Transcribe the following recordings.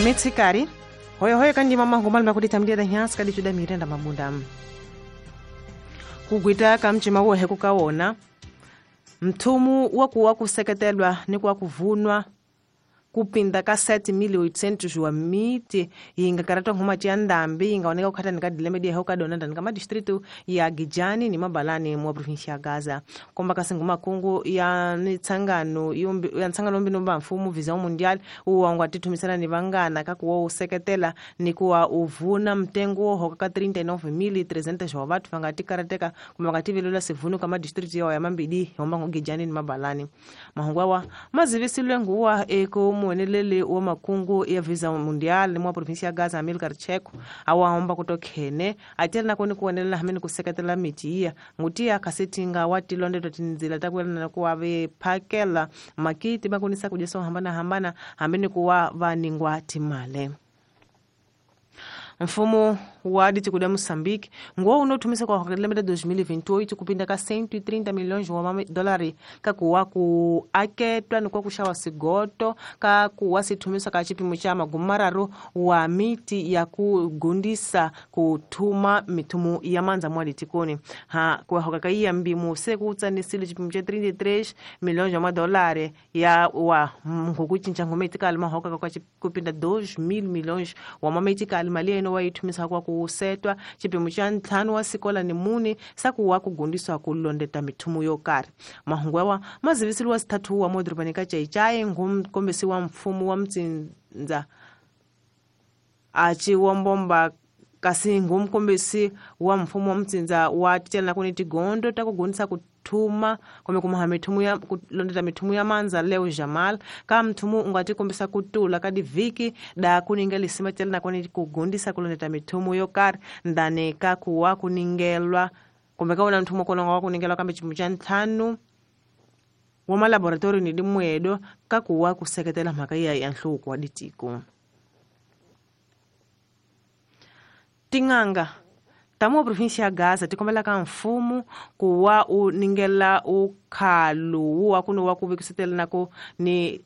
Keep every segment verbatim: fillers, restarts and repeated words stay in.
Mitsikari hoyohoyo kandi mama ngumalima kuti tamdia da nyasi kadi chuda mirenda mabunda kugwita kamchima wohe kukaona mthumu wakuwa kuseketelwa ni kwa kuvunwa kupinda ka sete mil oitocentos wa miti inga karatwa ngoma tia ndambi ingaoneka kukhata nika dileme dia hoka dona ndani kama distrito ya Gijani ni Mabalani mwa provincia ya Gaza komba kasi ngoma kungu ya nitsangano yombi ya ntsangano mbi nomba mfumo Visão Mundial uwangwa tithumisana ni vangana ka kuwa useketela ni kuwa uvuna mtengo hoka ka trinta e nove mil trezentos wa vatu vangati karateka kumba ngativelela sivuno kama distrito ya mambidi yomba Gijani ni Mabalani mahungwa mazivisilwe nguwa eko muenelele wa makungu ya Visão Mundial mwa provincia ya Gaza Amilcar Checo awahomba kutokhene atela nakoni kuonelela hamene kuseketela miti iya ngutia kasetinga watilondetwa tinzila takuelana kuwa vephakela makiti bakunisa kudyesa hambana hambana hamene kuwa vaningwa timale. Mfumo wa ditikuda Moçambique nguo unothumisa kwa hokelemeta dois mil e vinte e oito kupinda ka cento e trinta milhões de dólares ka kuwa ku aketwa ni kwa kushawa sigoto ka kuwa sithumisa ka chipimo cha magumararo wa miti ya kugundisa kuthuma mithumu ya mandza mwa ditikoni ha kwa hoka ka iya mbimu se kutsanisile chipimo cha trinta e três milhões de dólares ya wa ngokucinca ngometikali mahoka ka kupinda dois mil milhões wa mametikali mali eno wa ithumisa kwa kusetwa chipimo cha ntlhanu wa sikola ni mune sakuwa kugundiswa kulondeta mithumu yo karhi mahungu yawa mazivisiliwa sithathu wa modorobani ka Chaichai ngumkombisi wa mfumo wa mtsindza achi wa mbomba kasi ngumkombisi wa mfumo wa mtsindza wa titela kuni tigondo ta kugundisa ku thuma kumbe kumaha mithumu ya kulondeta mithumu ya mandza leo Jamal ka mthumu ungati kombisa kutula ka divhiki da kuninga lisima tela nakoni kugundisa kulondeta mithumu yo karhi ndani ka kuwa kuningelwa kumbe ka wona mthumu kona wa kuningelwa kambe chipimo cha ntlhanu wa malaboratori ni dimwedo ka kuwa kuseketela mhaka ya ya nhluvuko wa ditiko. Ting'anga tamu provincia ya Gaza tikombela ka mfumo kuwa u ningela ukhalu wa kuno wa kuvikisetela nako ni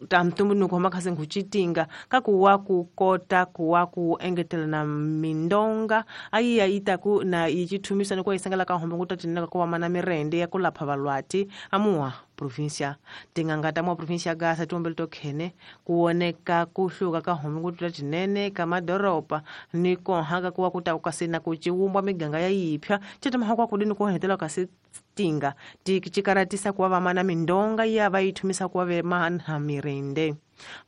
tamtumbunuko makhasi nguchitinga ka kuwa kukota kuwa ku engetela na mindonga ayiya itaku na ichithumisa ni kwa isangela ka hombo ngutatinaka kuwa mana mirende ya kulapha valwati amuwa provincia ting'anga ta mwa provincia ya Gaza tiombele tokhene kuoneka kuhluka ka hombo ngutatinene ka madoropa ni konhaka kuwa kuta kasina kuchiwumbwa miganga ya yipya chetamaha kwa kudini kuhetela kasi tinga tichikaratisa kuwa vamana mindonga ya vaithumisa kuwa vemana mirende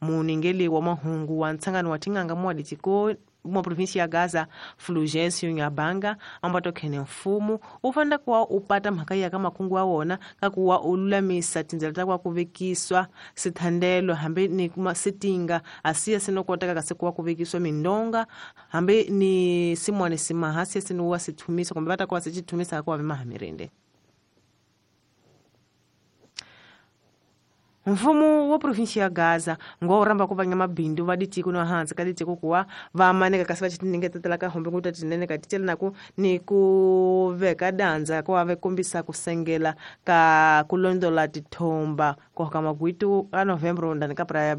muningeli wa mahungu wa ntsangano wa ting'anga mwa ditiko mwa provincia ya Gaza Fulgêncio Nyabanga ambato khene mfumo ufanda kuwa upata mhaka ya kamakungu wa wona ka kuwa ululamisa tindzela ta kwa kuvekiswa sithandelo hambi ni sitinga asiya sinokoteka kasi kuwa kuvekiswa mindonga hambi ni simone simahasi sinuwa sithumisa kumbe vata kuwa sichithumisa kuwa vemahamirende. Mfumo wa provincia ya Gaza ngo uramba kuvanya mabindu va ditiko no hansi ka ditiko kuwa va maneka kasi va chitingetetela ka hombe ngutatinene ka titela naku ni ku veka danza kuwa ve kombisa kusengela ka kulondola tithomba ko ka magwitu ka Novembro ndani ka Praia.